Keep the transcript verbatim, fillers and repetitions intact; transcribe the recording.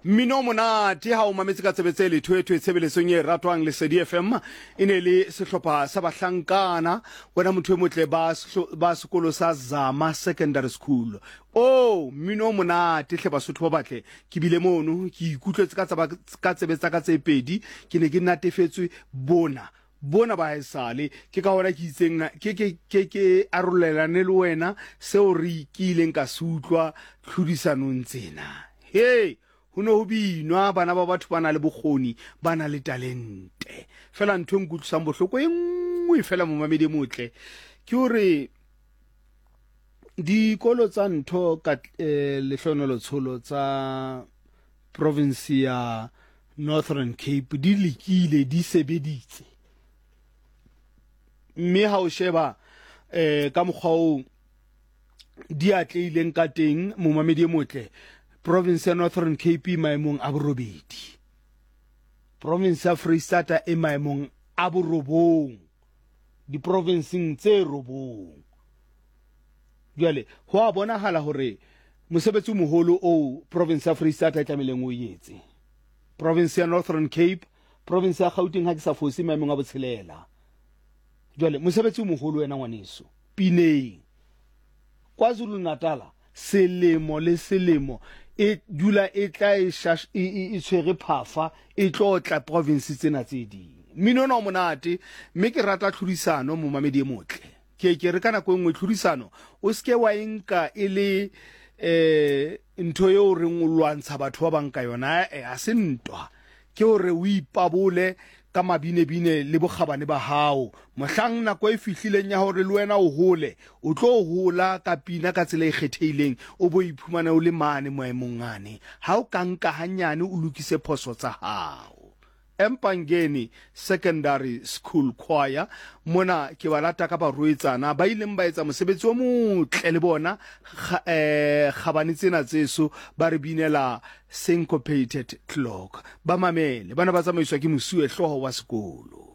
Mmino o monate ha o mametse ka tsebe tse lethwethwe tshebeletsong e ratwang Lesedi F M. E ne le sehlopha sa bahlankana, wena motho e motle ba sehlo-, ba sekolo sa Zama Secondary School. O mmino o monate hle Basotho ba batle. Ke bile mono ke ikutlwetse ka tsaba, ka tsebe tsa ka tse pedi, ke ne ke natefetswe bona. Bona ba haesale, ke ka hona ke itseng na, ke, ke, ke, ke arolelane le wena seo re ke ileng ka se utlwa tlhodisanong tsena. He, ho ne ho binwa, bana ba batho ba na le bokgoni, ba na le talente. Fela ntho e nkutlwisang bohloko e nngwe fela momamedi e motle, ke hore dikolo tsa ntho ka, eh, Lehlohonolo Tsholo tsa province ya Northern Cape di lekile, di sebeditse. Mme ha o sheba, eh, ka mokgwa oo di atlehileng ka teng, momamedi e motle, province ya Northern Cape e maemong a borobedi, province ya Freistata e maemong a borobong, diprovinseng tse robong. Jwale ho a bonahala hore mosebetsi o moholo oo province ya Freistata e tlamehileng o etse, province ya Northern Cape, province ya Gauteng ha ke sa fose maemong a botshelela. Jwale mosebetsi o moholo wena ngwaneso pineng. KwaZulu-Natal selemo le selemo e dula e tla e shash-, e, e, e tshwere phafa, e tlo tla province tsena tse ding. Mmino ona o monate, mme ke rata tlhodisano momamedi e motle. Ke ke re ka nako e nngwe tlhodisano o seke wa e nka e le, eh, ntho eo reng o lwantsha batho ba bang ka yona, eh, ha se ntwa. Ke hore o ipabole ka mabinebine le bokgabane ba hao. Mohlang nako e fihlileng ya hore le wena o hole, o tlo hola ka pina ka tsela e kgethehileng, o bo iphumane o le mane maemong ane. Ha o ka nka hanyane o lokise phoso tsa hao. Empangeni Secondary School Choir, mona ke ba lata ka barwetsana ba ileng ba etsa mosebetsi o motle le bona, kga-, eh, kgabane tsena tseso ba re binela Syncopated Clock. Ba mamele, bana ba tsamaiswa ke mosuwe hlooho wa sekolo.